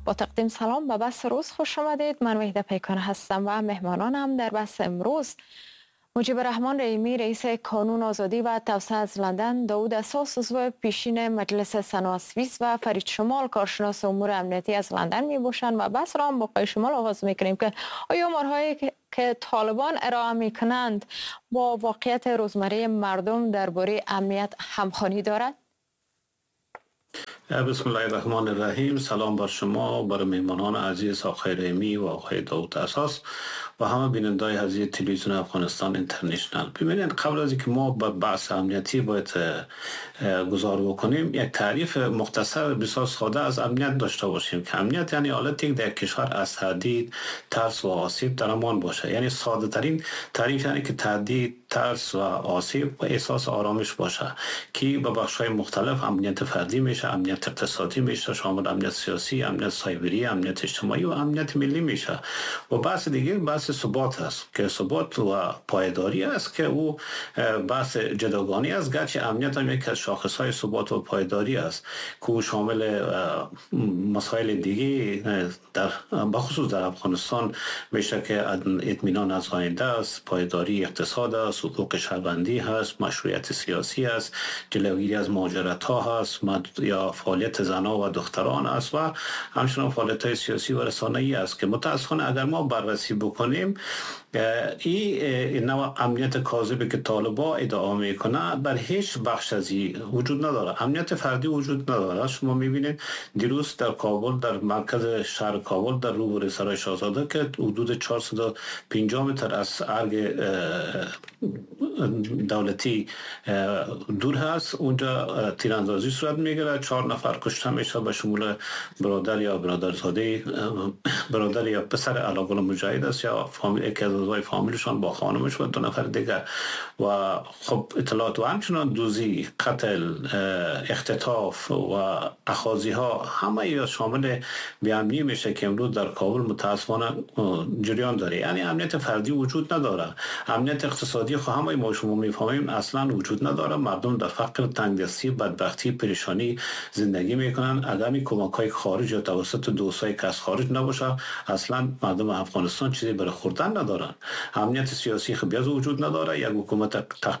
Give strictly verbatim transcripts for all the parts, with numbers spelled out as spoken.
با تقدیم سلام به بحث روز خوش آمدید. من وحیده پیکان هستم و مهمانانم در بحث امروز مجیب الرحمن رحیمی، رئیس کانون آزادی و توسعه از لندن، داود اساس، عضو پیشین مجلس سنا سوئیس و فرید شمال، کارشناس امور امنیتی از لندن می باشند و بحث را هم با آقای شمال آغاز می کنیم که آیا آمارهایی که طالبان ارائه می کنند با واقعیت روزمره مردم درباره امنیت همخوانی دارد؟ بسم الله الرحمن الرحیم. سلام بر شما، بر میهمانان عزیز آقای رحیمی و آقای داود اساس و همه بیننده‌های عزیز تلویزیون افغانستان اینترنشنال. ببینید، قبل از اینکه ما به بحث امنیتی باید گذار بکنیم، یک تعریف مختصر بسیار ساده از امنیت داشته باشیم که امنیت یعنی حالتی که در کشور از تهدید، ترس و آسیب در امان باشه. یعنی ساده ترین تعریف یعنی که تهدید، ترس و آسیب و احساس آرامش باشه که به بخش‌های مختلف امنیت فردی میشه، امنیت اقتصادی میشه، شامل امنیت سیاسی، امنیت سایبری، امنیت اجتماعی و امنیت ملی میشه. و بحث دیگه بحث ثبات است که ثبات و پایداری است که او بحث جداگانی است، گرچه امنیت هم یکی از شاخص‌های ثبات و پایداری است که او شامل مسائل دیگه در بخصوص در افغانستان میشه که اطمینان از آینده است، پایداری اقتصاد است، حقوق شهروندی هست، مشروعیت سیاسی است، جلوگیری از مهاجرت‌ها هست یا فعالیت زنها و دختران است و همچنین فعالیت‌های سیاسی و رسانه‌ای است که متأسفانه اگر ما بررسی بکنیم این نوع امنیت کاذبی که طالبا ادعا میکنه بر هیچ بخش از این وجود نداره. امنیت فردی وجود نداره. شما میبینید دیروز در کابل، در مرکز شهر کابل، در روبروی سرای شاهزاده که حدود چهارصد و پنجاه متر از ارگ دولتی دور هست، اونجا تیراندازی صورت میگیره، چهار نفر کشته میشه به شمول برادر یا برادرزاده، برادر یا پسر علاقل مجاهد است یا فامیل، یکی از اعضای فامیلشان با خانمش و دو نفر دیگر. و خب اطلاعات و همچنان دوزی، قتل، اختطاف و اخاذی ها همه یا شامل بی‌امنی میشه که امروز در کابل متاسفانه جریان داره. یعنی امنیت فردی وجود نداره. امنیت اقتصادی خب همه ما شما میفهمیم اصلا وجود نداره. مردم در فقر، تنگدستی، بدبختی، پریشانی زندگی میکنن. اگر این کمک های خارج یا توسط دوستای که از خارج نباشه اصلا مردم افغانستان چیزی برای خوردن ندارن. امنیت سیاسی خب بیاز وجود نداره. یک حکومت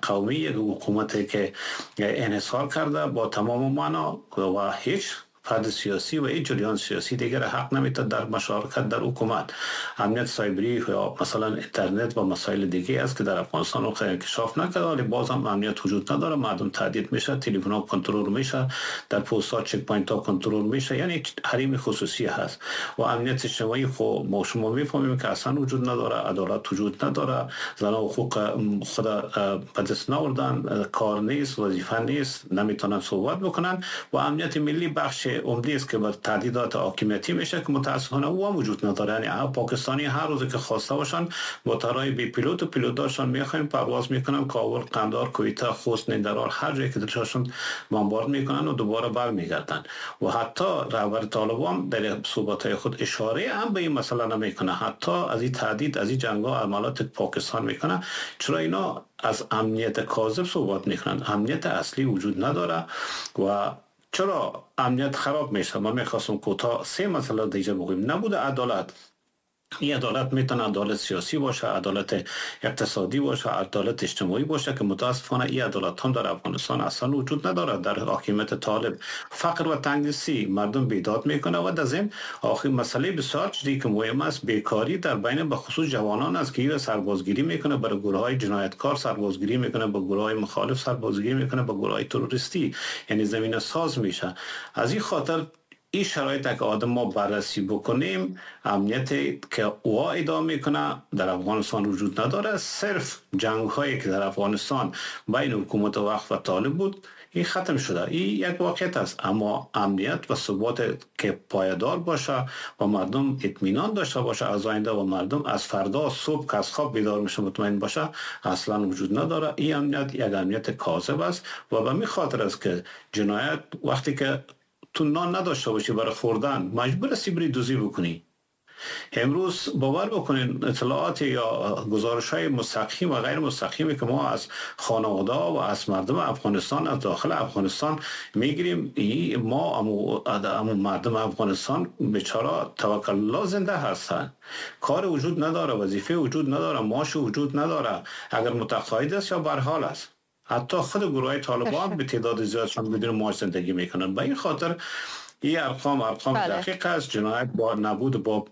قومی، یک حکومت که انحصار کرده با تمام معنا و هیچ فرد سیاسی و هیچ جریان سیاسی دیگر حق نمیده در مشارکت در حکومت. امنیت سایبری یا مثلا اینترنت و مسائل دیگه است که در افغانستان رو خیلی انکشاف نکرده، ولی باز هم امنیت وجود نداره. مردم تهدید میشه، تلفن ها کنترل میشه، در پست ها check point ها کنترل میشه، یعنی حریم خصوصی هست. و امنیت اجتماعی خب ما شما میفهمیم که اصلا وجود نداره، عدالت وجود نداره، زنان حقوق خود به دست نآوردن، کار نیست، وظیفه نیست، نمیتونن صحبت بکنن. و امنیت ملی بخش عمده است که بر تهدیدات حاکمیتی میشه که متاسفانه او هم وجود نداره. یعنی پاکستانی هر روز که خواسته باشن با طرای بی پیلوت و پیلوت دارشان میخوایم پرواز میکنن، کابل، قندهار، کویته، خوست، ننگرهار، هر جایی که دلشون بمبارد میکنن و دوباره برمیگردن. و حتی رهبر طالبان در صحبت‌های خود اشاره هم به این مسئله نمیکنه، حتی از این تهدید، از این جنگ‌ها، عملات پاکستان میکنه. چرا اینا از امنیت کاذب صحبت میکنن؟ امنیت اصلی وجود نداره. و چرا امنیت خراب میشه؟ من میخواستم کوتاه سه مسئله دیگه بگویم. نبود عدالت. این عدالت میتونه عدالت سیاسی باشه، عدالت اقتصادی باشه، عدالت اجتماعی باشه که متاسفانه این عدالت هم در افغانستان اصلا وجود نداره. در حاکمیت طالب فقر و تنگدستی مردم بیداد میکنه. و در ضمن آخر مسئله بسیار جدی که مهم است، بیکاری در بین به خصوص جوانان است که این سربازگیری میکنه، برای گروه های جنایتکار سربازگیری میکنه، با گروه های مخالف سربازگیری میکنه، با گروه های تروریستی، یعنی زمینه ساز میشه. از این خاطر این شرایط که آدم ما بررسی بکنیم، امنیت که او ادامه میکنه در افغانستان وجود نداره. صرف جنگ هایی که در افغانستان بین حکومت وقت و طالب بود این ختم شده، این یک واقعیت است. اما امنیت و ثبات که پایدار باشه و مردم اطمینان داشته باشه از آینده و مردم از فردا صبح که از خواب بیدار میشه مطمئن باشه، اصلا وجود نداره. این امنیت یک امنیت کاذب است و به می خاطر است که جنایت وقتی که تو نان نداشته باشی برای خوردن مجبور هستی بری دزدی بکنی. امروز باور بکنین اطلاعات یا گزارش‌های مستقیم و غیر مستقیمی که ما از خانواده و از مردم افغانستان از داخل افغانستان میگیریم، ما امو, امو مردم افغانستان بیچاره توکل الله زنده هستن، کار وجود نداره، وظیفه وجود نداره، معاش وجود نداره، اگر متقاعد است یا برحال است. حتی خود گروه طالبان به تعداد زیادشان بدون معاش زندگی میکنن. به این خاطر این ارقام ارقام بله. دقیق است. جنایت با نبود با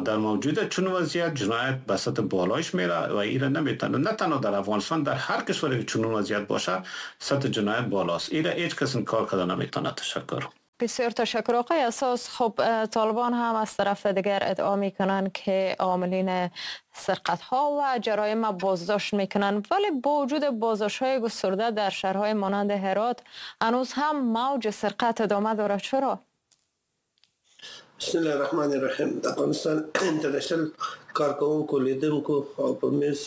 در موجوده چون وضعیت جنایت به سطح بالایش میره و ایره نمیتونه، نه تنها در افغانستان، در هر کشوری که چون وضعیت باشه سطح جنایت بالاست. ایره هیچ کس کار کرده نمیتونه. تشکر. بسیار تشکر آقای اساس. خب طالبان هم از طرف دیگر ادعا میکنن که عاملین سرقت ها و جرایم بازداشت میکنن، ولی با وجود بازداشت های گسترده در شهرهای مانند هرات هنوز هم موج سرقت ادامه داره. چرا؟ بسم الله الرحمن الرحیم. د افغانستان انټرنشنل کارکوونکو، لیدونکو او په میز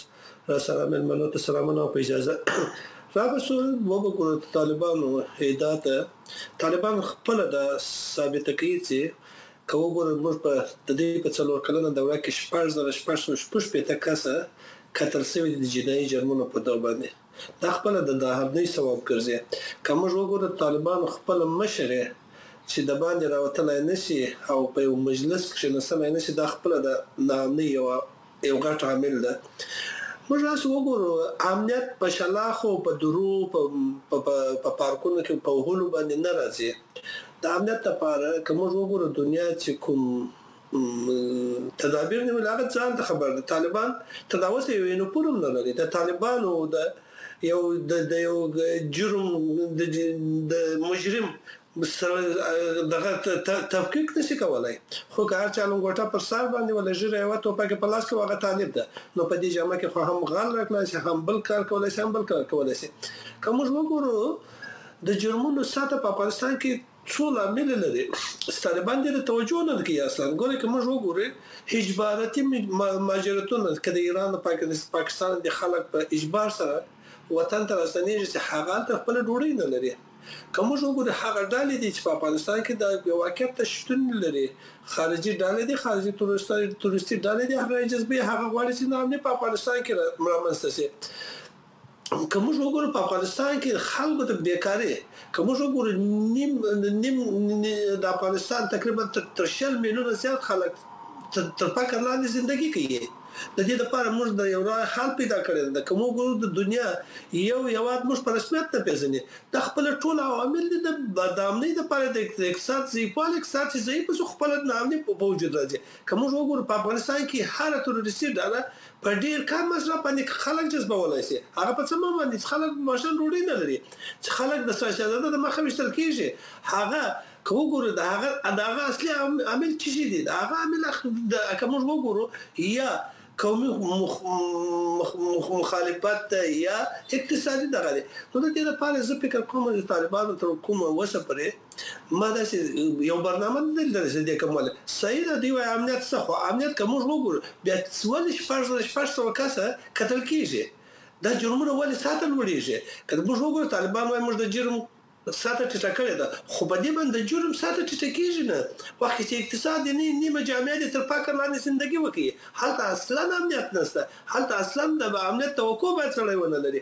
را سره مېلمنو ته سلامونه او په اجازه رابسو وګورو. طالبانو ادعا ته طالبان خپله دا ثابته کوي چې که وګورو موږ په د دې په څلور کلنه دوره کې شپږ زره شپږ سوه شپږ شپېته کسه قتل شوي دي د جنایي جرمونو په دور باندې. دا خپله د ناامنۍ سبب ګرځي. که موږ وګورو طالبانو خپله مشر چې د باندې راوتلی نه شي او په یو مجلس کښېنستلی نه شي، دا خپله د ناامنۍ یوه یو غټ عامل ده. موږ هسې وګورو امنیت په شلاخو، په درو، په په پارکونو کې په وهلو باندې نه راځي. د امنیت لپاره که موږ وګورو دنیا چې کوم تدابیر نیولي هغه ځان ته خبر ده. طالبان تر دا اوسه یو یونیفورم نه لري. د طالبانو د یو د یو جرم د مجرم سره دغه تفکیک نشي کولای. خو که هر چا لنګوټه پر سر باندې ولا ږیره یوه ټوپک په لاس کې هغه طالب ده، نو په دې جامه کې خو هم غل راتلای شي، هم بل کار کولای شي، هم بل کار کولای شي. که موږ وګورو د جرمونو سطح په افغانستان کې څو لامل لري. طالبان دې توجه نه کوي اصلا. ګوره که موږ وګورو اجباراتي مهاجرتونه که د ایران او پاکستان د خلک په اجبار سره وطن ته راستنېږي چې هغه هلته خپله ډوډۍ نه لري. که موږ وګورو هغه ډلې دي چې په افغانستان کې د واقعیت ته شتون لري، خارجي ډلې دي، خارجي تروریستي ډلې دي، هغه جذبې هغه غواړي چې ناامني په افغانستان کې رامنځته شي. که موږ وګورو په افغانستان کې خلکو ته بیکاري، که موږ وګورو نیم نیم د افغانستان تقریبا تر شل میلیونه زیات خلک تر فقر لاندې زندگی کوي. د دې لپاره موږ د یو راه حل پیدا کړی ده. که موږ ګورو د دنیا یو هیواد موږ په رسمیت نه پېژني، دا خپله ټول عوامل دي د ناامنۍ لپاره، د اقتصاد ضعیفوالی، اقتصاد چې ضعیف شو خپله ناامني په وجود راځي. که موږ وګورو په افغانستان کې هره تروریستي ډله په ډېر کم مصرف باندې خلک جذبولای شي. هغه په څه باندې چې خلک ماشومان ډوډۍ نه لري، چې خلک د شهزاده د مخه ویشتل کېږي. هغه که وګورو د هغه د هغه اصلي عامل څه شي دی؟ د هغه عامل که موږ وګورو یا قومي مخالفت ده یا اقتصادي دغه دی. نو د دې لپاره زه فکر کوم چې طالبانو تر کومه وسه پورې ما داسې یو برنامه نه لیدلې چې دې کومه صحیح ده. دوی وایي امنیت څه، خو امنیت که موږ وګورو بیا ولې شپږ زره شپږ سوه کسه قتل کېږي؟ دا جرمونه ولې ساته لوړېږي؟ که موږ وګورو طالبان وایي موږ د جرم سطح ټیټه کړې ده، خو په دې باندې د جرم سطح ټیټه کېږي نه. وخت چې اقتصاد یې نه نیمه جامعه دې تر فقر لاندې زندګي وکړي، هلته اصلا امنیت نشته، هلته اصلا د امنیت توقع باید سړی ونه لري.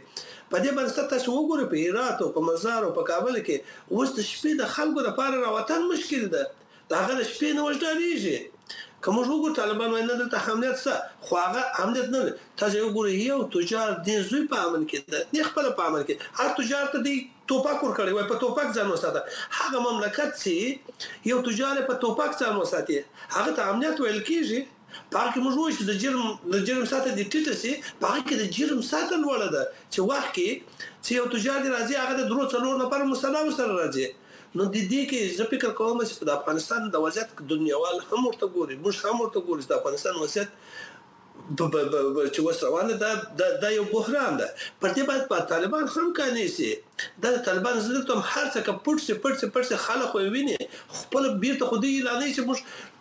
په دې باندې تاسو وګورئ په هرات او په مزار او په کابل کې اوس د شپې د خلکو لپاره راوتل مشکل ده، د هغه د شپې نه وژډارېږي. که موږ وګورو طالبان وایي نه دلته امنیت شته، خو هغه امنیت نه لري. تاسو وګورئ یو تجار دې زوی په امن کې ده، نه خپله په امن کې، هر تجار ته دی توپک ورکړی، وایي په توپک ځان وساته. هغه مملکت چې یو تجار په توپک ځان وساتي هغه ته امنیت ویل کېږي. په هغه کې موږ وایو چې د جرم د جرم سطح دې ټیټه شي، په هغه کې د جرم سطح لوړه ده چې وخت کې چې یو تجار دې راځي هغه د درو څلور نفرو مسلح ورسره راځي. نو د دې کې زه فکر کوم چې د افغانستان د وضعیت دنیاوال هم ورته ګوري، موږ هم ورته ګورو چې د افغانستان وضعیت چې اوس روان ده دا یو بحران ده. پر دې باندې طالبان هم قانع شي. دا د طالبانو زه درته وایم هر څه که پټ شي پټ شي پټ شي خلک خو یې ویني خپله بیرته خو دوی اعلانوي چې موږ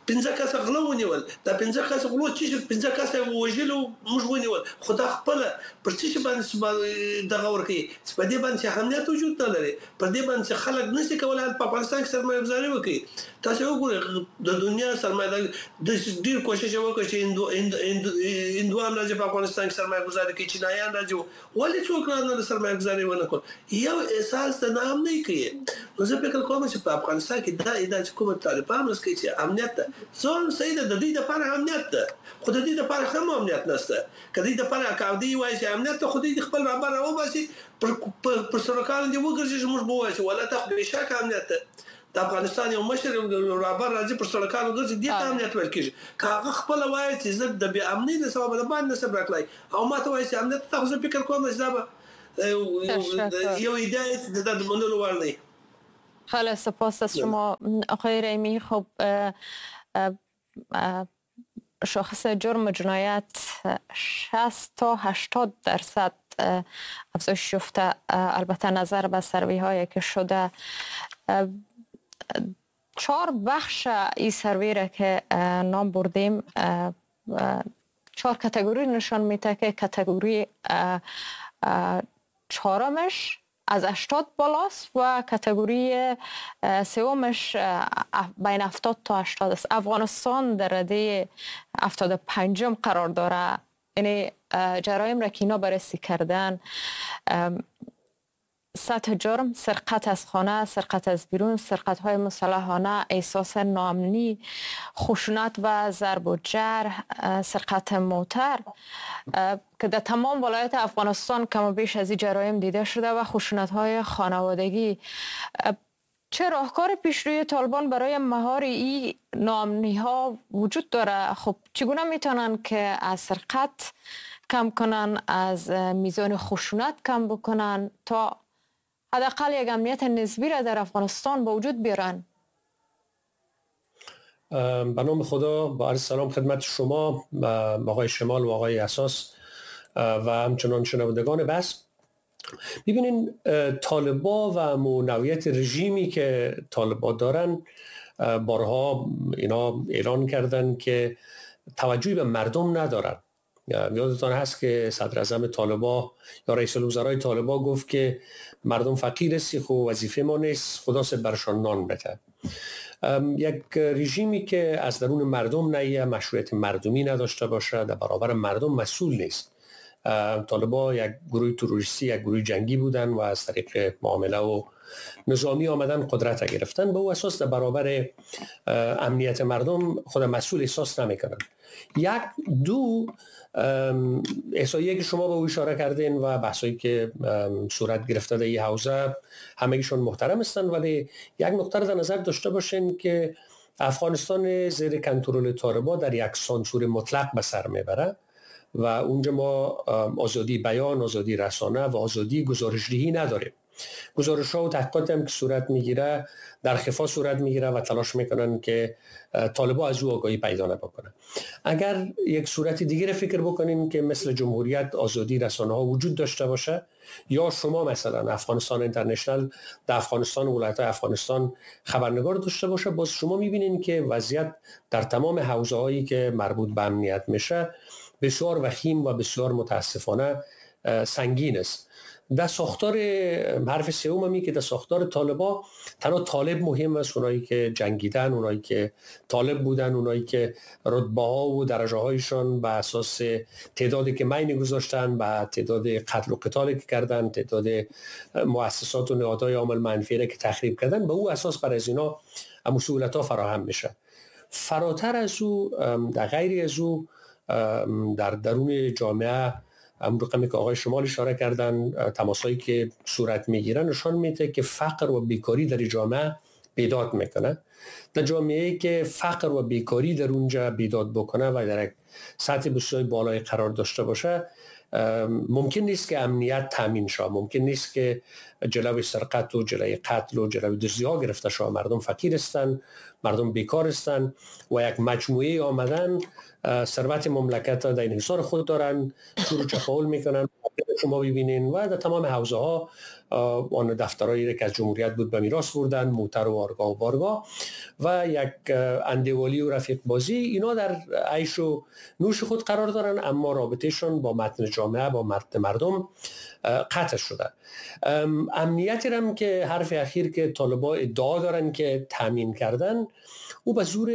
پنځه کسه غله ونیول، دا پنځه کسه غلو چې شي پنځه کسه یې وژلي موږ ونیول، خو دا خپله پر څه شي باندې دغه ورکوي چې په دې باندې امنیت وجود نه لري، پر دې باندې چې خلک نه شي کولای په افغانستان کې سرمایه ګذاري وکړي. تاسو وګورئ د دنیا سرمایه ډېر کوشش یې وکړ چې هندو هندوان راځي په افغانستان کې سرمایه ګذاري کوي، چینایان راځي، ولې څوک رانه سرمایه ګذاري ونه کړ؟ یو احساس د ناامنۍ کوي. نو زه فکر کوم چې په افغانستان کې دا ادعا چې کومه طالبان اوس کوي چې امنیت ده، زه هم صحیح ده، د دوی دپاره امنیت ده، خو د دوی دپاره هم امنیت نشته. که دوی دپاره که دوی وایي چې امنیت ده، خو دوی خپل رهبر راوباسي پر پر سړکانو دې وګرځي چې موږ به ووایو چې والله دا خو بېشکه امنیت ده. د افغانستان یو مشر یو رهبر راځي پر سړکانو ګرځي، دې ته امنیت ویل کېږي. که هغه خپله وایي چې زه د بې امنۍ له سببه د باندې نه شم راتلای او ما ته وایي چې امنیت ته، خو زه فکر کوم چې دا به یو ادعا ده د منلو وړ نه. خیلی سپاس از شما آقای رحیمی. خب شاخص جرم و جنایت شصت تا هشتاد درصد افزایش یافته، البته نظر به سروی هایی که شده. چهار بخش این سروی را که نام بردیم چهار کاتگوری نشان میده که کاتگوری چهارمش از هشتاد بالاست و کاتگوری سومش بین هفتاد تا هشتاد است. افغانستان در رده هفتاد و پنجم قرار داره. یعنی جرایم را که اینا بررسی کردن، سطح جرم، سرقت از خانه، سرقت از بیرون، سرقت های مسلحانه، احساس ناامنی، خشونت و ضرب و جرح، سرقت موتر که در تمام ولایت افغانستان کم و بیش از این جرایم دیده شده و خشونت های خانوادگی. چه راهکار پیشروی طالبان برای مهار این ناامنی ها وجود داره؟ خب چگونه میتونن که از سرقت کم کنن، از میزان خشونت کم بکنن تا حداقل یک امنیت نسبی را در افغانستان به وجود بیارن؟ به نام خدا، با عرض سلام خدمت شما آقای شمال و آقای اساس و همچنان شنوندگان بحث. ببینین طالبا و نوعیت رژیمی که طالبا دارن، بارها اینا اعلان کردن که توجهی به مردم ندارن. یادتان هست که صدر اعظم طالبا یا رئیس الوزرای طالبا گفت که مردم فقیر هستی، خو وظیفه ما نیست، خدا سه برشان نان بده. یک رژیمی که از درون مردم نیه، مشروعیت مردمی نداشته باشه، در برابر مردم مسئول نیست. طالبا یک گروه تروریستی، یک گروه جنگی بودن و از طریق معامله و نظامی آمدن قدرت گرفتن. به او اساس در برابر امنیت مردم خود مسئول احساس نمیکنن. یک دو احصائیه که شما به او اشاره کردین و بحثایی که صورت گرفته در این حوزه همگیشون محترم هستند، ولی یک نقطه رو در نظر داشته باشین که افغانستان زیر کنترل طالبان در یک سانسور مطلق به سر میبره و اونجا ما آزادی بیان، آزادی رسانه و آزادی گزارشدهی نداریم. گزارش ها و تحقیقات هم که صورت میگیره در خفا صورت میگیره و تلاش میکنن که طالبا از او آگاهی پیدا نکنن. اگر یک صورت دیگه فکر بکنیم که مثل جمهوریت آزادی رسانه ها وجود داشته باشه، یا شما مثلا افغانستان اینترنشنال در افغانستان، ولایت افغانستان خبرنگار داشته باشه، باز شما میبینین که وضعیت در تمام حوزه هایی که مربوط به امنیت میشه بسیار وخیم و بسیار متاسفانه سنگین است. در ساختار حرف سوم همی که در ساختار طالبا تنها طالب مهم است، اونایی که جنگیدن، اونایی که طالب بودن، اونایی که رتبه ها و درجه هایشان به اساس تعدادی که مین گذاشتن، به تعداد قتل و قتال که کردن، تعداد مؤسسات و نهادهای عامل منفی که تخریب کردن، به او اساس برای از اینا مسئولیت ها فراهم میشه. فراتر از او، در غیر از او، در درون جامعه هم رقمی که آقای شمال اشاره کردن، تماسایی که صورت میگیرن نشان میده که فقر و بیکاری در جامعه بیداد میکنه. در جامعه‌ای که فقر و بیکاری در اونجا بیداد بکنه و در یک سطح بسیار بالای قرار داشته باشه، ممکن نیست که امنیت تامین شه، ممکن نیست که جلوی سرقت و جلوی قتل و جلوی دزدی ها گرفته شه. مردم فقیر هستند، مردم بیکار هستند و یک مجموعه آمدن ثروت مملکت را در انحصار خود دارن، شروع چپاول میکنن، شما ببینین و در تمام حوزه ها آن دفترایی که از جمهوریت بود به میراث بردن، موتر و آرگاه و بارگاه و یک اندیوالی و رفیق بازی، اینا در عیش و نوش خود قرار دارن، اما رابطهشون با متن جامعه، با متن مردم قطع شده. امنیتی هم که حرف اخیر که طالبا ادعا دارن که تامین کردن، او به زور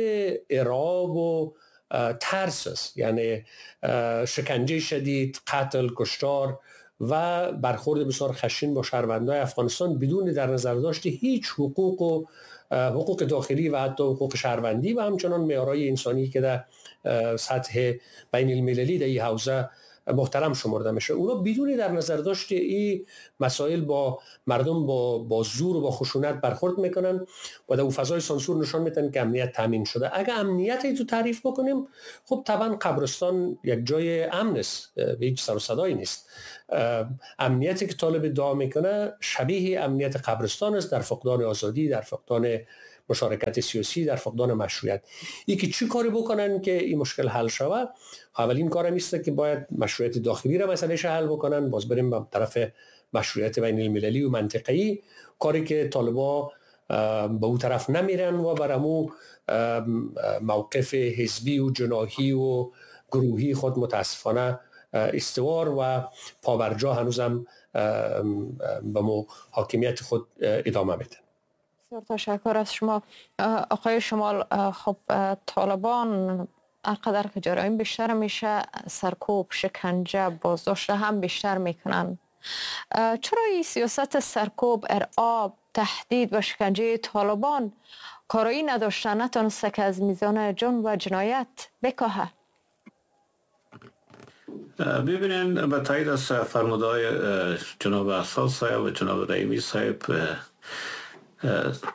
ارعاب و ترس است، یعنی شکنجه شدید، قتل، کشتار و برخورد بسیار خشن با شهروندان افغانستان بدون در نظر داشت هیچ حقوق و حقوق داخلی و حتی حقوق شهروندی و همچنان معیارهای انسانی که در سطح بین المللی در این حوزه محترم شمرده میشه. اونا بدون در نظر داشت این مسائل با مردم با با زور و با خشونت برخورد میکنن و در فضای سانسور نشان میدن که امنیت تامین شده. اگه امنیت تو تعریف بکنیم، خب طبعا قبرستان یک جای امن است، هیچ سر و صدایی نیست. امنیتی که طالب ادعا میکنه شبیه امنیت قبرستان است، در فقدان آزادی، در فقدان مشارکت سیاسی، در فقدان مشروعیت. ای که چی کاری بکنن که این مشکل حل شود؟ اولین کارم ایست که باید مشروعیت داخلی را مسئلهش حل بکنن، باز بریم به طرف مشروعیت بین المللی و منطقه‌ای، کاری که طالبا به او طرف نمیرن و برامو موقف حزبی و جناحی و گروهی خود متاسفانه استوار و پابرجا هنوزم به مو حاکمیت خود ادامه میدن. بسیار تشکر از شما آقای شمال. خب طالبان هرقدر که جرایم بیشتر میشه، سرکوب، شکنجه، بازداشت هم بیشتر میکنن. چرا این سیاست سرکوب، ارعاب، تهدید و شکنجه طالبان کارایی نداشته، نتونسته که از میزان جرم و جنایت بکاهه؟ ببینین، به تایید از فرمودهای جناب اساس صاحب و جناب رحیمی صاحب،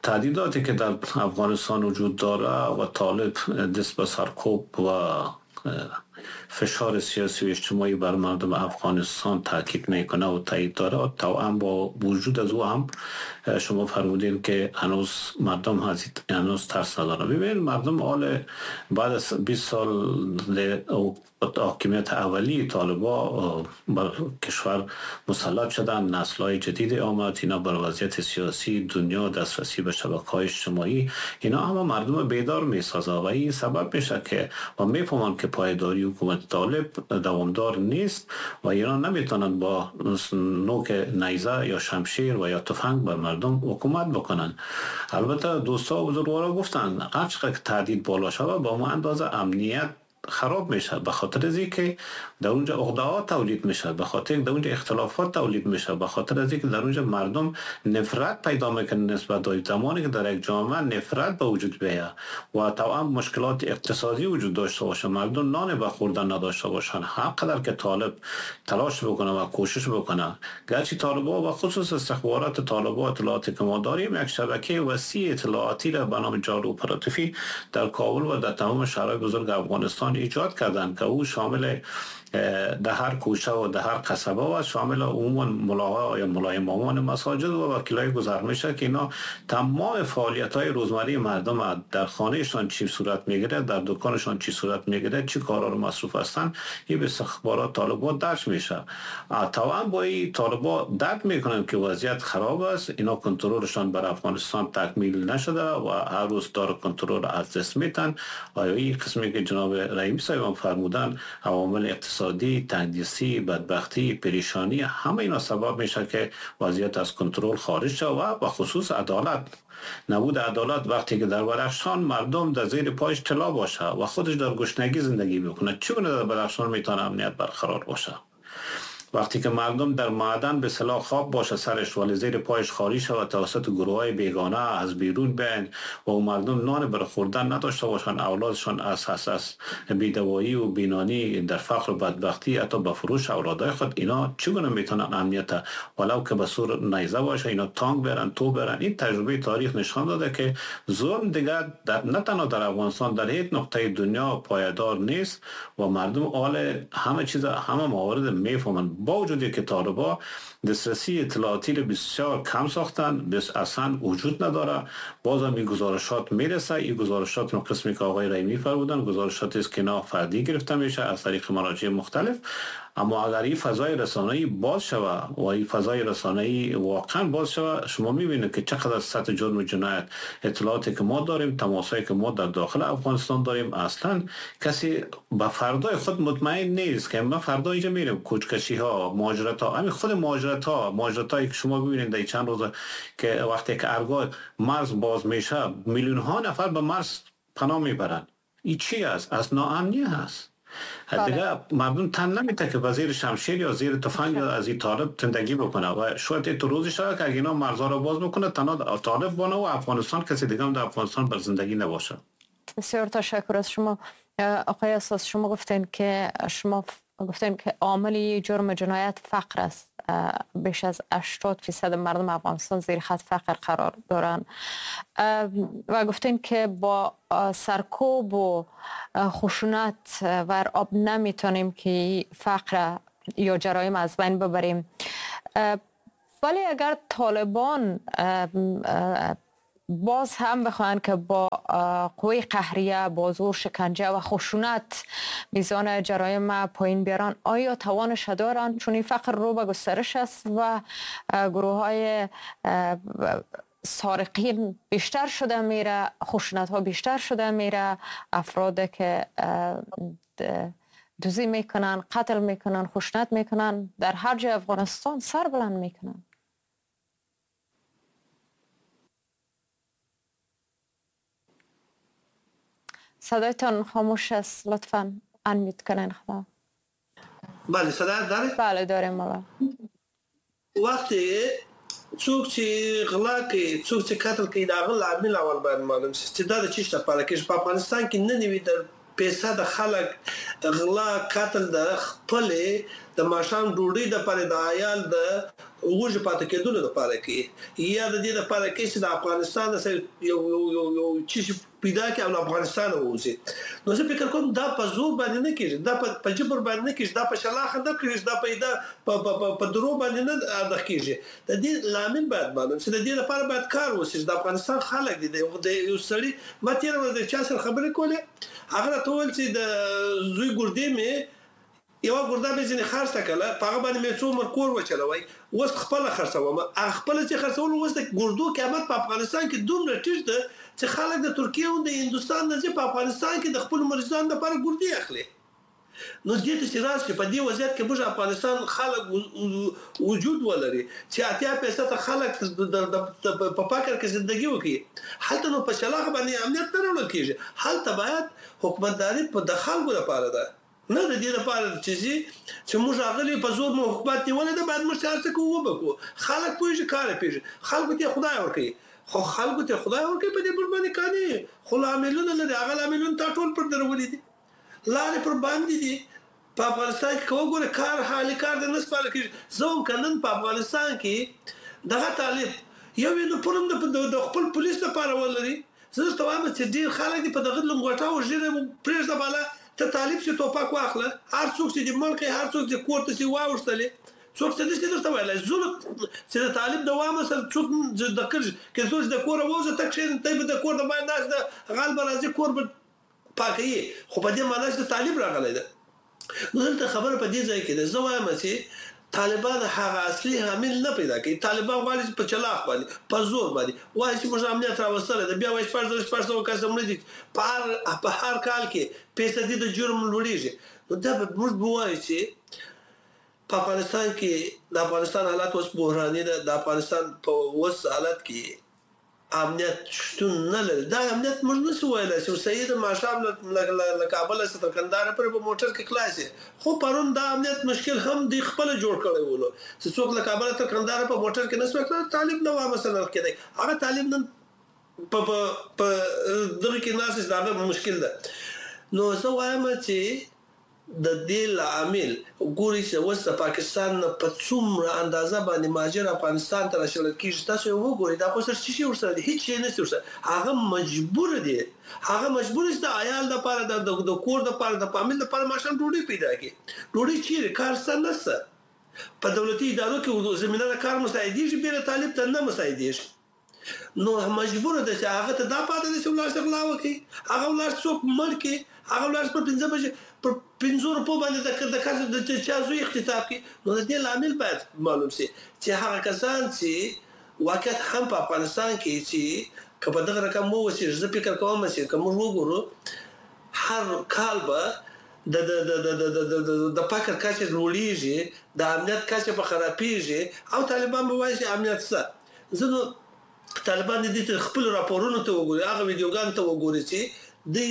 تهدیداتی که در افغانستان وجود داره و طالب دست به سرکوب و فشار سیاسی و اجتماعی بر مردم افغانستان تاکید میکنه و تایید داره، توأم با وجود از او هم شما فرمودین که هنوز مردم هنوز ترس نداره. ببینید مردم حال بعد از بیست سال حاکمیت اولی طالبا بر کشور مسلط شدن، نسل‌های جدید آمد، اینا بر وضعیت سیاسی دنیا، دسترسی به شبکه‌های اجتماعی، اینا همه مردم بیدار میسازه و این سبب میشه که و میفهمن که پایداری حکومت طالب دوامدار نیست و اینا نمیتونن با نوک نیزه یا شمشیر و یا تفنگ بر مردم حکومت بکنن. البته دوستا و بزرگوارا گفتن هر چقدر که تهدید بالا شود با ما اندازه امنیت خراب میشه، به خاطر از اینکه در اونجا عقده ها تولید میشه، به خاطر در اونجا اختلافات تولید میشه، به خاطر از اینکه در اونجا مردم نفرت پیدا میکنن نسبت به زمانی که در یک جامعه نفرت به وجود بیاد و توأم مشکلات اقتصادی وجود داشته باشه، مردم نان به خوردن نداشته باشن، هر قدر که طالب تلاش بکنه و کوشش بکنه، گرچه طالبا و خصوص استخبارات طالبا اطلاعاتی که ما داریم یک شبکه وسیع اطلاعاتی را به نام جال اپراتیفی در کابل و در تمام شهرهای بزرگ افغانستان ایجاد کردن که او شامل در هر کوچه و در هر قصبه و شامل عموما ملاها یا ملای امامان مساجد و وکیلای گذر میشه که اینا تمام فعالیت های روزمره مردم در خانهشان چی صورت میگیره، در دکانشان چی صورت میگیره، چی کارا رو مصروف هستن، این به استخبارات طالبان درج میشه. طبعا با این طالبان درک میکنن که وضعیت خراب است، اینا کنترلشان بر افغانستان تکمیل نشده و هر روز دار کنترل از دست میتن. آیا این قسمی که جناب رحیمی صاحب فرمودن عوامل اقتصادی، تنگدستی، بدبختی، پریشانی، همه اینا سبب میشه که وضعیت از کنترل خارج شه و به خصوص عدالت، نبود عدالت. وقتی که در بدخشان مردم در زیر پایش طلا باشه و خودش در گشنگی زندگی بکنه، چگونه در بدخشان میتونه امنیت برقرار باشه؟ وقتی که مردم در معدن به سلاح خواب باشه سرش ولی زیر پایش خالی شود توسط گروه های بیگانه از بیرون بیاین و مردم نان بر خوردن نداشته باشن، اولادشان از از بیدوایی و بینانی در فقر و بدبختی حتی به فروش اولادای خود، اینا چگونه میتونن امنیت ولو که به سور نیزه باشه اینا تانک برن تو برن؟ این تجربه تاریخ نشان داده که ظلم دیگه در نه تنها در افغانستان، در هیچ نقطه دنیا پایدار نیست و مردم آل همه چیز همه موارد میفهمن. با وجودی که طالبا دسترسی اطلاعاتی رو بسیار کم ساختن، بس اصلا وجود نداره، بازم این گزارشات میرسه. این گزارشات رو قسمی که آقای رحیمی فرمودن گزارشاتی است که نه فردی گرفته میشه از طریق مراجع مختلف، اما اگر این فضای رسانه‌ای باز شود و این فضای رسانه‌ای واقعا باز شود، شما می‌بینید که چقدر سطح جرم و جنایت، اطلاعاتی که ما داریم، تماسایی که ما در داخل افغانستان داریم، اصلا کسی به فردای خود مطمئن نیست که ما فردا اینجا میریم. کوچکشی ها، مهاجرت ها، همین خود مهاجرت ها، مهاجرت هایی که شما ببینید در چند روز که وقتی که ارگاه مرز باز میشه، میلیون ها نفر به مرز پناه میبرن. این چی است؟ از ناامنی هست. دیگه مردم تن نمیده که با زیر شمشیر یا زیر تفنگ یا از این طالب زندگی بکنه و شاید تو روزی شود که اگه اینا مرزها رو باز بکنه، تنها طالب بانه و افغانستان کسی دیگه هم در افغانستان بر زندگی نباشه. بسیار تشکر از شما آقای اساس. شما گفتین که شما گفتین که عامل جرم جنایت فقر است. بیش از هشتاد درصد مردم افغانستان زیر خط فقر قرار دارند و گفتین که با سرکوب و خشونت و آب نمیتونیم که فقر یا جرایم از بین ببریم. ولی اگر طالبان باز هم بخواهند که با قوه قهریه، با زور، شکنجه و خشونت میزان جرایم پایین بیارن، آیا توانش دارن؟ چون این فقر رو به گسترش است و گروه های سارقین بیشتر شده میره، خشونت ها بیشتر شده میره، افراد که دزدی میکنن، قتل میکنن، خشونت میکنن، در هر جای افغانستان سر بلند میکنن. صدایتان خاموش است، لطفاً انمیوت کنین خدا. بله صدا داره؟ بله داریم. مالا وقتی څوک چې غلا کوي، څوک چې قتل کوي، د هغه لامل اول باید معلوم شي چې دا د څه شي لپاره کوي. په افغانستان کې نن نوي د پیسه د خلک غلا قتل د خپلې د ماښام ډوډۍ دپاره، د عیال د وږي پاتې کېدلو دپاره کوي، یا د دې دپاره کوي چې د افغانستان یو یو یو څه شي پیدا کړي او له افغانستانه ووځي. نو زه فکر کوم دا په زور باندې نه کېږي، دا په جبر باندې نه کېږي، دا په شلاخه نه کېږي، دا په دا په درو باندې نه ادا کېږي. د دې لامل باید معلوم شي، د دې لپاره باید کار وشي. د افغانستان خلک دي، د یو سړي ما تېره ورځ د چا سره خبرې کولې، هغه راته وویل چې د زوی ګردې مې یوه ګرده مې ځینې خرڅه کړله، په هغه باندې مې څو عمر کور وچلوی، اوس خپله خرڅوم. هغه خپله چې خرڅول، اوس د ګردو قیمت په افغانستان کې دومره ټیټ ده چې خلک د ترکیې او د هندوستان نه ځي په افغانستان کې د خپلو مریضانو لپاره ګردې اخلي. نو دې ته چې راشي په دې وضعیت کې موږ افغانستان خلک وجود ولري چې اتیا فیصده خلک په فقر کې زندګي وکړي، هلته نو په شلاخه باندې امنیت نه راوړل کېږي. هلته باید حکومتداري په د خلکو لپاره ده، نه د دې لپاره چې ځي چې موږ راغلي په زور مو حکومت نیولی دی، باید موږ هر څه کوو وبه کوو. خلک پوهېږي، کار یې پوهېږي، خلکو ته خدای ورکوي، خو خلکو ته خدای ورکوي په دې موږ باندې قانع، خو لاملونه لري. هغه لاملونه تا ټول پر درولي دي، لارې پر باندې دي. په افغانستان کې که وګورې کار حالي کار دی نه سپارل کېږي. زه هم که نن په افغانستان کې دغه طالب یو یونیفورم د خپل پولیس لپاره ولري، زه درته وایم چې ډېر خلک دي په دغه لنګوټه او ږیره پرېږده بالا، ته طالب چې توپک واخله، هر څوک چې دې مړ کړي، هر څوک چې کور ته چې واوښتلې، څوک څه نشي درته ویلی. ظلم چې د طالب د وامه سره څوک د کړي که څوک د کوره ووځه ته کښېنې، ته به د کور د باندې ناست ده، غل به راځي کور به پاکوي، خو په دې معنا چې طالب راغلی ده. نو دلته خبره په دې ځای کې ده، زه وایم چې طالبان هغه اصلي عامل نه پیدا کوي. طالبان غواړي چې په چلاخ باندې، په زور باندې وایي چې موږ امنیت راوستلی ده، بیا وایي شپږ زره شپږ سوه کسه مړه دي، په هر په هر کال کې فیصدي د جرم لوړېږي. نو دا به موږ به ووایو چې په افغانستان کې د افغانستان حالت اوس بحراني ده. د افغانستان په اوس حالت کې امنیت شتون نه لري. دا امنیت موږ نه شو ویلی چې صحیح ده، ماښام له کابله څخه تر کندهاره پورې په موټر کې خلاص یې، خو پرون دا امنیت مشکل هم دوی خپله جوړ کړی ولو چې څوک له کابله تر کندهاره په موټر کې نه شوای تللی، طالب نه وه مثلا کېدی، هغه طالب نن په په په دغه کې ناست چې د هغه مشکل ده. نو زه وایم چې د دې لامل ګوري چې اوس د پاکستان نه په څومره اندازه باندې مهاجر افغانستان ته راشړل کېږي. تاسو یې وګورئ، دا خو سره څه شي ورسره دي؟ هېڅ شی نشته ورسره. هغه مجبور دی، هغه مجبور چې د عیال دپاره، د کور دپاره، د فامیل دپاره ماښام ډوډۍ پیدا کړي. ډوډۍ چیرې؟ کار شته نشته. په دولتي ادارو کې زمینه د کار مساعدېږي، بې له طالب ته نه مساعدېږي. نو مجبور ده چې هغه ته دا پاتې ده چې ولاړ شي غلا وکړي، هغه ولاړ څوک مړ کړي، هغه ولاړ پر پنځه بجې پر پنځو روپو باندې د د کس د چا زوی اختطاف کړي. نو د دې لامل باید معلوم شي چې هغه کسان چې واقعیت هم په افغانستان کې چې که په دغه رقم ووسي، زه فکر کوم چې که موږ وګورو هر کال به د د د د د د د فقر کچه لوړیږي، د امنیت کچه به خرابیږي او طالبان به وایي چې امنیت څه. زه نو طالبان دې ته خپل راپورونو ته وګوري، هغه ویډیوګانو ته وګوري چې دی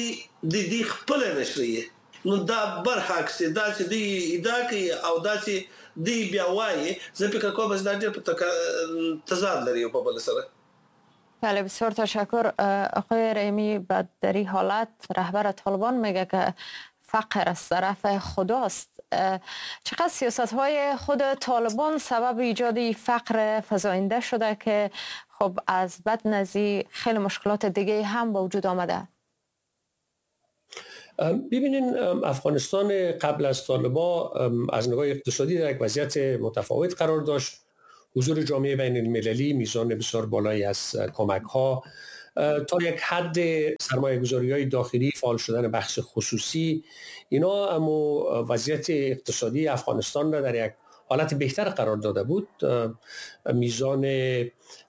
د دې خپل نشریه. نو دا برعکس دا چې دی ادعا کوي او دا چې دی بیا وایي، زه فکر کوم چې دا ډېر په تضاد لري یو په بل سره. بله، بسیار تشکر آقای رحیمی. بعد در این حالت رهبر طالبان میگه که فقر از طرف خداست. چقدر سیاست های خود طالبان سبب ایجاد فقر فزاینده شده که خب از بد نزی خیلی مشکلات دیگه هم با وجود آمده؟ ببینین، افغانستان قبل از طالبان از نگاه اقتصادی در یک وضعیت متفاوت قرار داشت. حضور جامعه بین المللی، میزان بسیار بالایی از کمک ها، تا یک حد سرمایه گذاری های داخلی، فعال شدن بخش خصوصی، اینا اما وضعیت اقتصادی افغانستان را در یک حالت بهتر قرار داده بود. میزان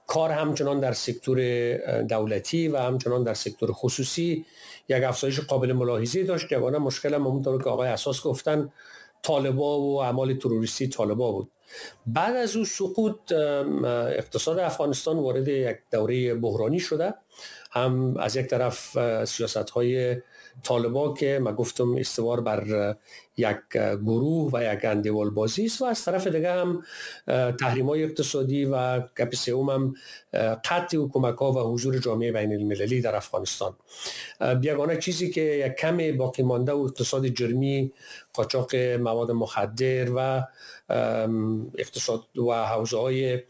کار همچنان در سکتور دولتی و همچنان در سکتور خصوصی یک افزایش قابل ملاحظه داشت. یگانه مشکل هم همونطور که آقای اساس گفتن طالبا و اعمال تروریستی طالبا بود. بعد از او سقوط اقتصاد افغانستان وارد یک دوره بحرانی شده، هم از یک طرف سیاست‌های طالبا که ما گفتم استوار بر یک گروه و یک اندیوال بازی است و از طرف دیگه هم تحریم‌های اقتصادی و گپ سوم هم قطع کمک‌ها و حضور جامعه بین المللی در افغانستان. یگانه چیزی که یک کم باقی مانده و اقتصاد جرمی، قاچاق مواد مخدر و اقتصاد و حوزه‌های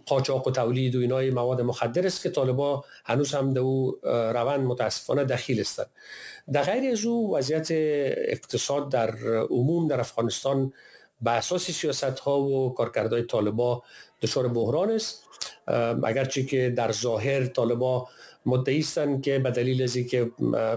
قاچاق و تولید و اینای مواد مخدر است که طالبا هنوز هم در او روند متاسفانه دخیل هستند. در غیر از او وضعیت اقتصاد در عموم در افغانستان به اساس سیاست‌ها و کارکردهای طالبا دچار بحران است. اگرچه که در ظاهر طالبا مدعی هستند که به دلیل از اینکه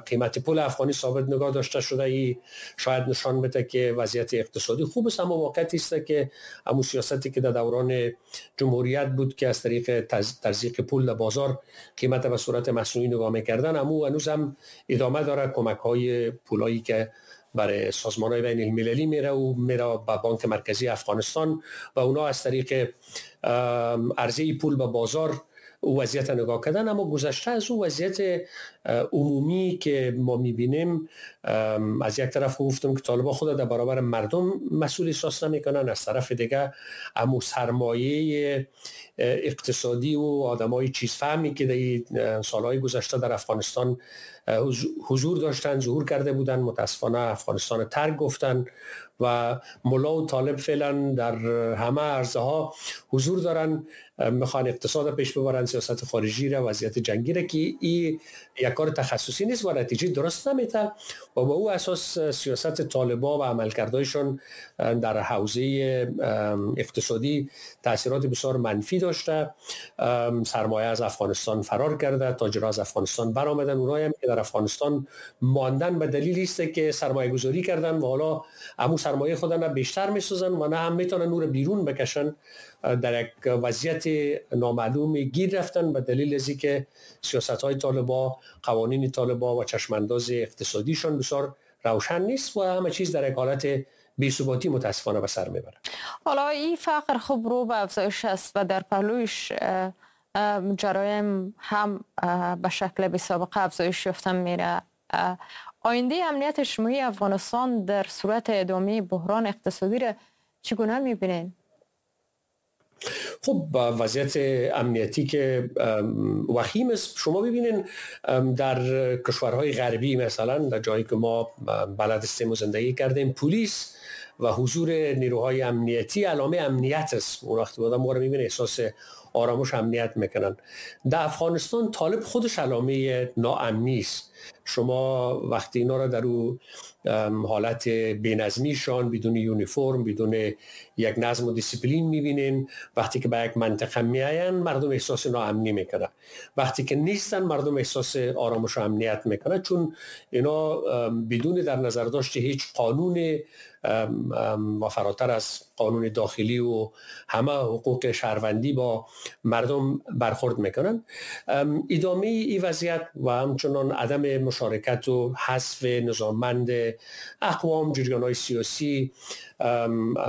قیمت پول افغانی ثابت نگاه داشته شده ای شاید نشان بده که وضعیت اقتصادی خوب است، اما واقعیت است که همون سیاستی که در دوران جمهوریت بود که از طریق تزریق پول در بازار قیمت به صورت مصنوعی نگاه می‌کردن، همون هنوز هم ادامه داره. کمک‌های پولایی که برای سازمان‌های بین المللی میره و میره به بانک مرکزی افغانستان و اونا از طریق عرضه پول به بازار او وضعیت نگاه کردن. اما گذشته از او وضعیت عمومی که ما میبینیم، از یک طرف گفتم که طالبان خود در برابر مردم مسئول احساس نمیکنن، از طرف دیگه امو سرمایه اقتصادی و آدمای چیز فهمی که در سالهای گذشته در افغانستان حضور داشتن، ظهور کرده بودن، متاسفانه افغانستان ترک گفتن و ملا و طالب فعلا در همه عرصه ها حضور دارن، میخوان اقتصاد پیش ببرن، سیاست خارجی را، وضعیت جنگی را که این یک کار تخصصی نیست و نتیجه درست نمیده و با او اساس سیاست طالبا و عملکردهایشان در حوزه اقتصادی تاثیرات بسیار منفی داشته. سرمایه از افغانستان فرار کرده، تاجرها از افغانستان برآمدن، اونایی هم که در افغانستان ماندن به دلیل است که سرمایه گذاری کردن و حالا امو سرمایه خودن را بیشتر میسازن و نه هم میتونن او را بیرون بکشن، در یک وضعیت نامعلوم گیر رفتن به دلیل از اینکه سیاست‌های طالبا، قوانین طالبا و چشمانداز اقتصادیشان بسیار روشن نیست و همه چیز در یک حالت بی‌ثباتی متاسفانه به سر میبره. حالا این فقر خب رو به افزایش است و در پهلویش جرایم هم به شکل بی سابقه افزایش یافتن میره. آینده امنیت اجتماعی افغانستان در صورت ادامه بحران اقتصادی را چگونه میبینین؟ خب وضعیت امنیتی که وخیم است. شما ببینین در کشورهای غربی مثلا در جایی که ما بلد هستیم و زندگی کردیم، پلیس و حضور نیروهای امنیتی علامه امنیت است. اون وقتی آدم ما رو میبینه احساس آرامش امنیت میکنن. در افغانستان طالب خودش علامه ناامنی است. شما وقتی اینا را در او حالت بی‌نظمیشان، بدون یونیفرم، بدون یک نظم و دیسیپلین میبینین، وقتی که به یک منطقه میاین مردم احساس ناامنی میکنن، وقتی که نیستن مردم احساس آرامش و امنیت میکنن، چون اینا بدون در نظر داشت هیچ قانون و فراتر از قانون داخلی و همه حقوق شهروندی با مردم برخورد میکنن. ادامه این وضعیت و همچنان عدم مشارکت و حذف نظاممند اقوام، جریان‌های سیاسی،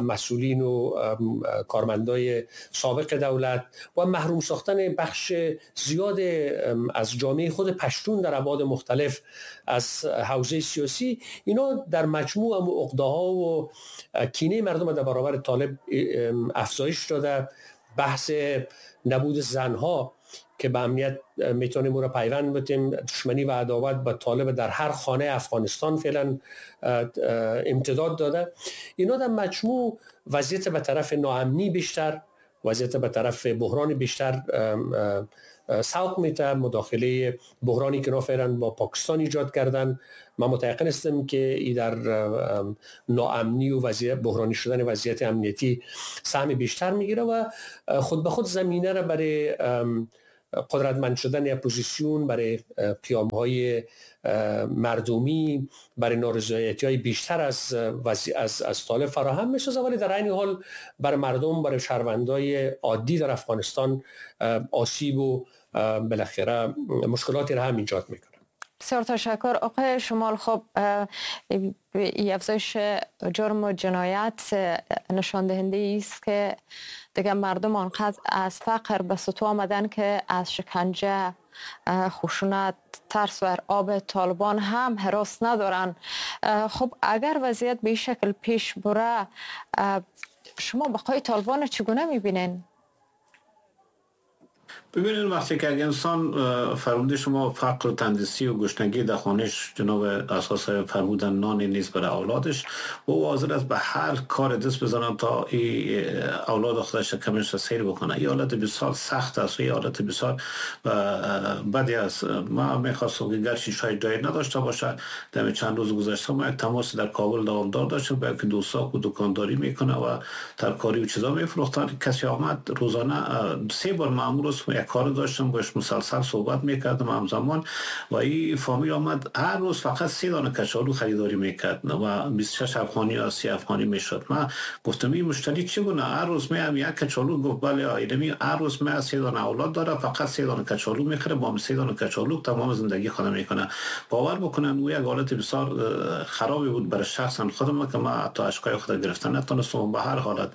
مسئولین و کارمندای سابق دولت و محروم ساختن بخش زیاد از جامعه خود پشتون در ابعاد مختلف از حوزه سیاسی، اینا در مجموع هم عقده‌ها و کینه مردم در برابر طالب افزایش داده. بحث نبود زنها که به امنیت میتونیم او را پیوند بدیم، دشمنی و عداوت با طالب در هر خانه افغانستان فعلا امتداد داده. اینا در مجموع وضعیت به طرف ناامنی بیشتر، وضعیت به طرف بحران بیشتر سوق میده. مداخله بحرانی که فعلا با پاکستان ایجاد کردن، من متیقن هستم که ای در ناامنی و وضعیت بحرانی شدن وضعیت امنیتی سهم بیشتر میگیره و خود به خود زمینه را برای قدرتمند شدن اپوزیسیون، برای قیام‌های مردمی، برای نارضایتی‌های بیشتر از از از طالب فراهم می‌سازه، ولی در عین حال برای مردم، برای شهروندای عادی در افغانستان آسیب و بالاخره مشکلاتی را هم ایجاد می‌کنه. بسیار تشکر آقای شمال. خب افزایش جرم و جنایت نشان دهنده است که دیگه مردم آنقدر از فقر به سطوح آمدن که از شکنجه، خشونت، ترس و آب طالبان هم هراس ندارن. خب اگر وضعیت به این شکل پیش بره، شما بقای طالبان چگونه میبینین؟ ببینید وقتی که انسان فرموده شما فقر و تندیسی و گشنگی در خانهش، جناب اساس فرمودن نان نیست برای اولادش، و او حاضر است به هر کار دست بزنن تا ای اولاد خودش کمش سیر بکنه. این حالت بسیار سخت است و این حالت بسیار بدی است. ما میخواستم که گرچه شاید جایی نداشته باشه، در چند روز گذشته ما یک تماس در کابل دوامدار داشتم با یک دوستا که دکانداری میکنه و ترکاری و چیزا میفروختن. کسی آمد روزانه سه بار مامور است، یک کار داشتم باش مسلسل صحبت میکردم همزمان، و این فامیل آمد هر روز فقط سه دانه کچالو خریداری میکرد و بیست و شش افغانی یا سی افغانی میشد. من گفتم این مشتری چگونه هر روز میام یک کچالو؟ گفت بله ایدمی هر روز می سه دانه اولاد داره، فقط سه دانه کچالو میخره، با سه دانه کچالو تمام زندگی خود میکنه. باور بکنن او یک حالت بسیار خرابی بود برای شخصا خودم که ما حتی اشکای خود گرفتن نتونستم. به هر حالت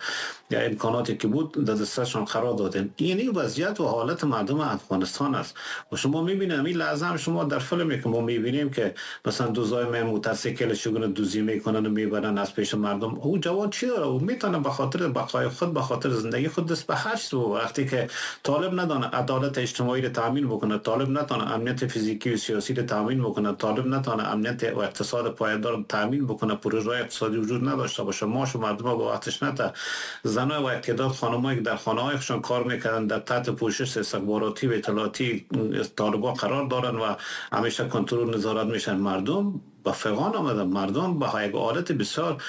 یا امکاناتی که بود در دستشان قرار دادیم. این وضعیت و حالت مردم افغانستان است و شما میبینید این لحظه هم شما در فیلمی که ما میبینیم که مثلا دوزای موتورسیکل چگونه دوزی میکنن و میبرن از پیش مردم، او جوان چی داره؟ او میتونه به خاطر بقای خود، به خاطر زندگی خود دست به هر چیز. وقتی که طالب ندانه عدالت اجتماعی رو تامین بکنه، طالب نتونه امنیت فیزیکی و سیاسی رو تامین بکنه، طالب نتونه امنیت و اقتصاد پایدار تامین بکنه، پروژه اقتصادی وجود نداشته باشه، ماش مردم با وقتش نته، زنای و اعتداد خانمایی که در خانه‌های خودشان کار میکردن در تحت پوشش استخباراتی و اطلاعاتی طالبان قرار دارن و همیشه کنترل نظارت میشن، مردم با فغان آمدن، مردم با یک حالت بسیار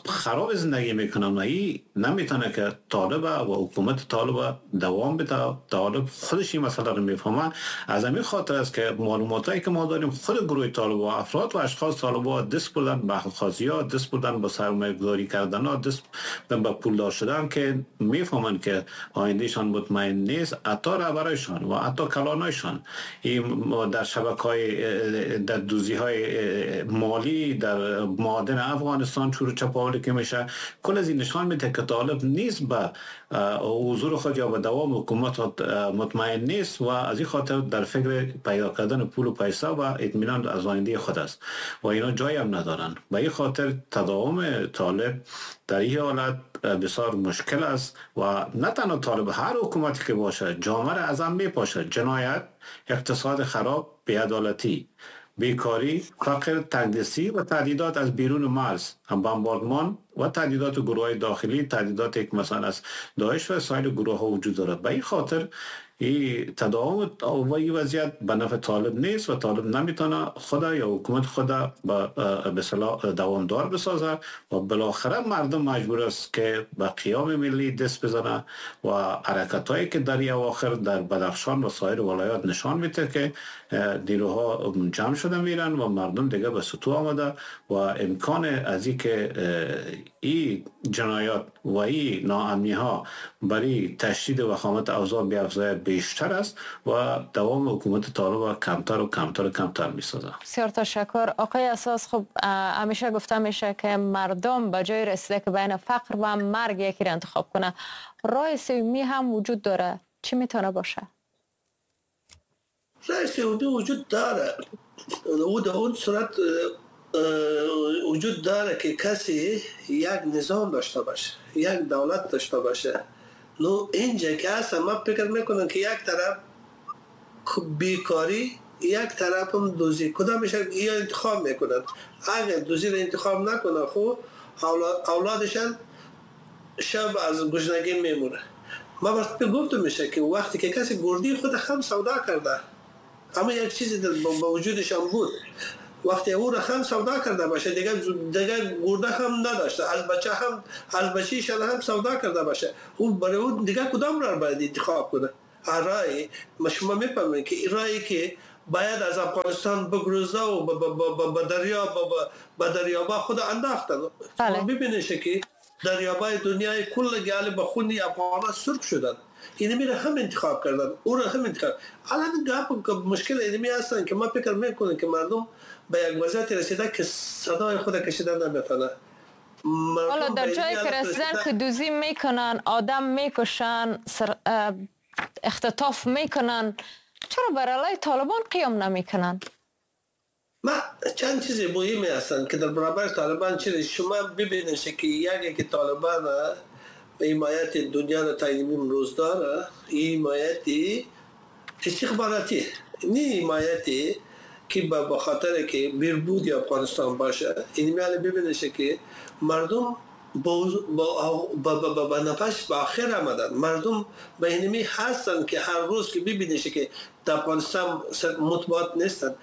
خراب زندگی میکنن و این نمیتونه که طالب و حکومت طالب دوام بده. طالب خودش این مسئله رو میفهمه. از همین خاطر است که معلوماتایی که ما داریم خود گروه طالب و افراد و اشخاص طالب دست بردن به خاصی ها، دست بردن به سرمایه گذاری کردن ها، دست بردن به پولدار شدن که میفهمن که آیندهشان مطمئن نیست. حتی رهبرایشان و حتی کلانایشان این در شبکه‌های در دوزی‌های مالی در معادن افغانستان چور چپاولی که میشه، کل از این نشان میده که طالب نیست به حضور خود یا به دوام حکومت مطمئن نیست و از این خاطر در فکر پیدا کردن پول و پیسه و اطمینان از آینده خود است و اینا جایی هم ندارن. به این خاطر تداوم طالب در این حالت بسیار مشکل است و نه تنها طالب، هر حکومتی که باشه جامعه را از هم میپاشه. جنایت، اقتصاد خراب، بی‌عدالتی، بیکاری، فقر، تنگدستی و تهدیدات از بیرون مرز، هم بمباردمان و تهدیدات گروه داخلی، تهدیدات که مثلا از داعش و سایر گروه ها وجود داره. به این خاطر این تداوم و این وضعیت به نفع طالب نیست و طالب نمیتونه خدا یا حکومت خدا به اصطلاح دوامدار بسازه و بالاخره مردم مجبور است که به قیام ملی دست بزنه و حرکت هایی که در اواخر در بدخشان و سایر ولایات نشان میده که نیروها جمع شده میرن و مردم دیگه به سطوح آمده و امکان از این که این جنایات و این ناامنی ها برای تشدید وخامت اوضاع بیافزاید بیشتر است و دوام حکومت طالب کمتر و کمتر و کمتر میسازه. بسیار تشکر آقای اساس. خب همیشه گفته میشه که مردم به جای رسیده که بین فقر و مرگ یکی را انتخاب کنه، راه سومی هم وجود داره. چی میتونه باشه؟ راه سومی وجود داره، او در اون صورت وجود داره که کسی یک نظام داشته باشه، یک دولت داشته باشه. نو اینجا که هست ما فکر میکنم که یک طرف بیکاری، یک طرف هم دوزی، کدامش یا انتخاب میکنن. اگر دوزی رو انتخاب نکنه خب اولادشان شب از گشنگی میمونه. ما وقتی گفتم میشه که وقتی که کسی گردی خود هم سودا کرده، اما یک چیزی در با وجودش هم بود، وقتی او را هم سودا کرده باشه دیگه دیگه گرده هم نداشته، از بچه هم از بچه‌ش هم سودا کرده باشه، او برای او دیگه کدام را باید انتخاب کنه؟ رای ما شما میفهمید که رایی که باید از افغانستان بگریزه و به دریا به دریابا خود انداختن. شما ببینید که دریابای دنیای کل گال به خون افغانا سرخ شدن. اینو میره هم انتخاب کردن، او را هم انتخاب. الان گپ مشکل اینمی هستن که ما فکر میکنیم که مردم به یک وضعیت رسیده که صدای خود کشیدن نمیتونه. حالا در جایی که رسیدن که دوزی میکنن، آدم میکشن، سر... اختطاف میکنن، چرا بر علیه طالبان قیام نمیکنن؟ ما چند چیز مهمی هستند که در برابر طالبان چیز شما ببینید که یکی که طالبان حمایت دنیا را تا امروز داره، حمایت استخباراتی، نه حمایتی که به خاطر که بهبود افغانستان باشه. این میال ببینید که مردم با با با با نفس به آخر آمدن. مردم به اینمی هستن که هر روز که ببینید که در افغانستان مطبوعات نیستن،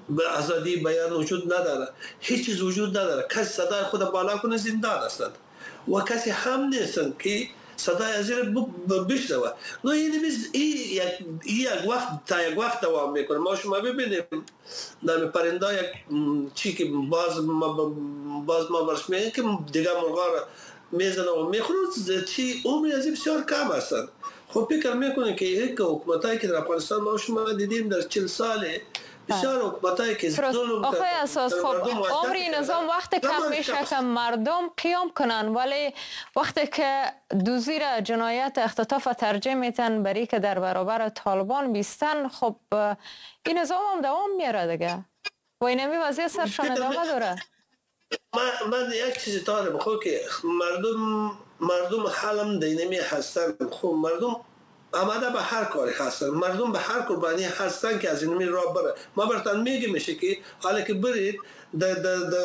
به آزادی بیان وجود نداره، هیچ چیز وجود نداره، کسی صدای خود بالا کنه زندان هستند و کسی هم نیستن که صدای از زیر بشنوه. نو این یک یک وقت تا یک وقت دوام میکنه. ما شما ببینیم نام پرنده یک چی که باز ما باز ما برش میگه که دیگه مرغا را میزنه و میخوره، چی عمر از بسیار کم هستند. خب فکر میکنه که یک حکومتایی که در افغانستان ما شما دیدیم در چهل ساله بسیار حکومتایی که ظلم آقای اساس، خب عمری نظام وقت کم میشه که مردم قیام کنن، ولی وقتی که دوزی را جنایت اختطاف ترجیح میتن بری که در برابر طالبان بیستن، خب این نظام هم دوام میاره دیگه و این همی وضعیت سرشان ادامه داره. من, من یک چیزی دارم، خب که مردم مردم حالم دینمی هستن. خب مردم آماده به هر کاری هستن، مردم به هر قربانی هستن که از این راه بره. ما براتون میگم میشه که حالا که برید در در در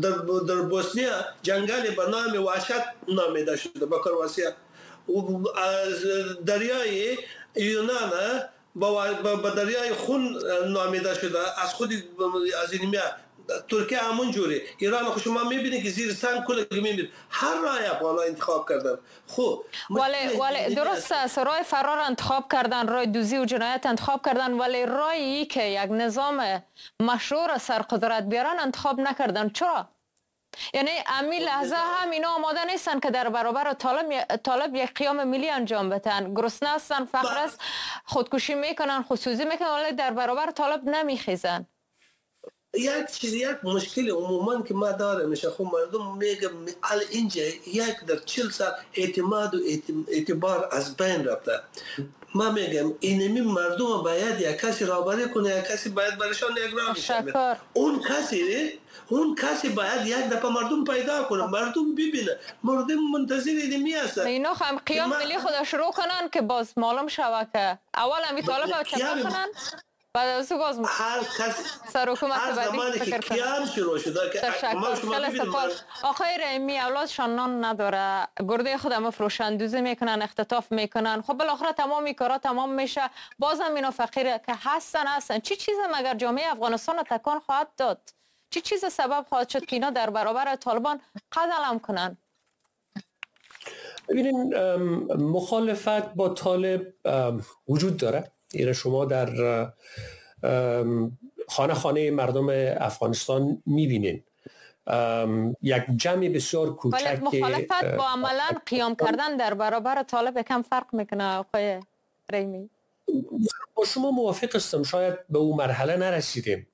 در در بوسنیا جنگل به نام وحشت نامیده شده با کرواسیا، و از دریای یونان با با دریای خون نامیده شده، از خود از این ترکیه همون جوری، ایران خب شما میبینید که زیر سنگ کل میبینید هر راه افغان‌ها انتخاب کردن. خب ولی ولی درست است، راه فرار انتخاب کردن، راه دوزی و جنایت انتخاب کردن، ولی راهی که یک نظام مشروع سر قدرت بیارن انتخاب نکردن. چرا؟ یعنی امی لحظه هم اینا آماده نیستن که در برابر طالب طالب یک قیام ملی انجام بدن. گرسنه هستن، فقر است، خودکشی میکنن، خودسوزی میکنن، ولی در برابر طالب نمیخیزن. یک چیز یک مشکل عموما که ما داره میشه، خب مردم میگه ال اینجا یک در چهل سال اعتماد و اعتبار از بین رفته. ما میگم اینمی مردم باید یک کسی رهبری کنه، یک کسی باید برشان یک راه بشه. اون کسی اون کسی باید یک دفعه مردم پیدا کنه، مردم ببینه، مردم منتظر اینمی هستن. اینا هم قیام ملی خود شروع کنن که باز معلوم شوه که اول همی طالب چپا کنن. بعد از او باز هر کس سر حکومت بعدی فکر کنه. قیام شروع شده که خیلی سپاس. آقای رحیمی، اولادشان نان نداره، گرده خود هم فروشندوزی میکنن، اختطاف میکنن، خب بالاخره تمام کارا تمام میشه، بازم اینا فقیر که هستن هستن. چی چیز مگر جامعه افغانستان تکان خواهد داد؟ چی چیز سبب خواهد شد که اینا در برابر طالبان قد علم کنن؟ ببینین، مخالفت با طالب وجود داره. ایره شما در خانه خانه مردم افغانستان میبینین، یک جمع بسیار کوچک. مخالفت با عملا قیام کردن در برابر طالب کم فرق میکنه آقای رحیمی. با شما موافق هستم، شاید به اون مرحله نرسیدیم.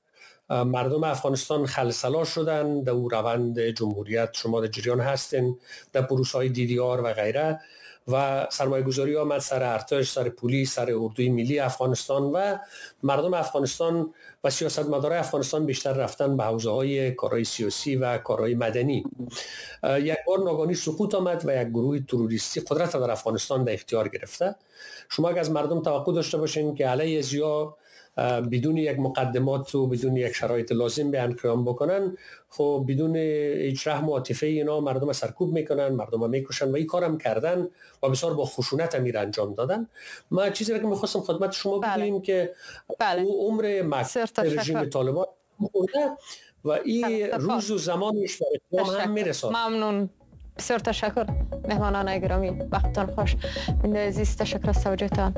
مردم افغانستان خلسلا شدن در روند جمهوریت، شما در جریان هستین، در پروسه های دی دی آر و غیره، و سرمایه گذاری آمد سر ارتش، سر پلیس، سر اردوی ملی افغانستان و مردم افغانستان و سیاستمدارای افغانستان بیشتر رفتن به حوزه های کارهای سیاسی و کارهای مدنی. یک بار ناگهانی سقوط آمد و یک گروه تروریستی قدرت در افغانستان در اختیار گرفته. شما اگر از مردم توقع داشته باشین که علیه ضیا بدون یک مقدمات و بدون یک شرایط لازم به قیام بکنن، خب بدون هیچ رحم و عاطفه اینا مردم سرکوب میکنن، مردم میکشن و این کارم کردن و بسیار با خشونت هم انجام دادن. ما چیزی که میخواستم خدمت شما بگویم که بله. او عمر مکتب رژیم طالبان خورده و این روز و زمانش به اتمام هم میرسه. ممنون، بسیار تشکر مهمانان گرامی، وقتتان خوش. بیننده عزیز تشکر از توجهتان.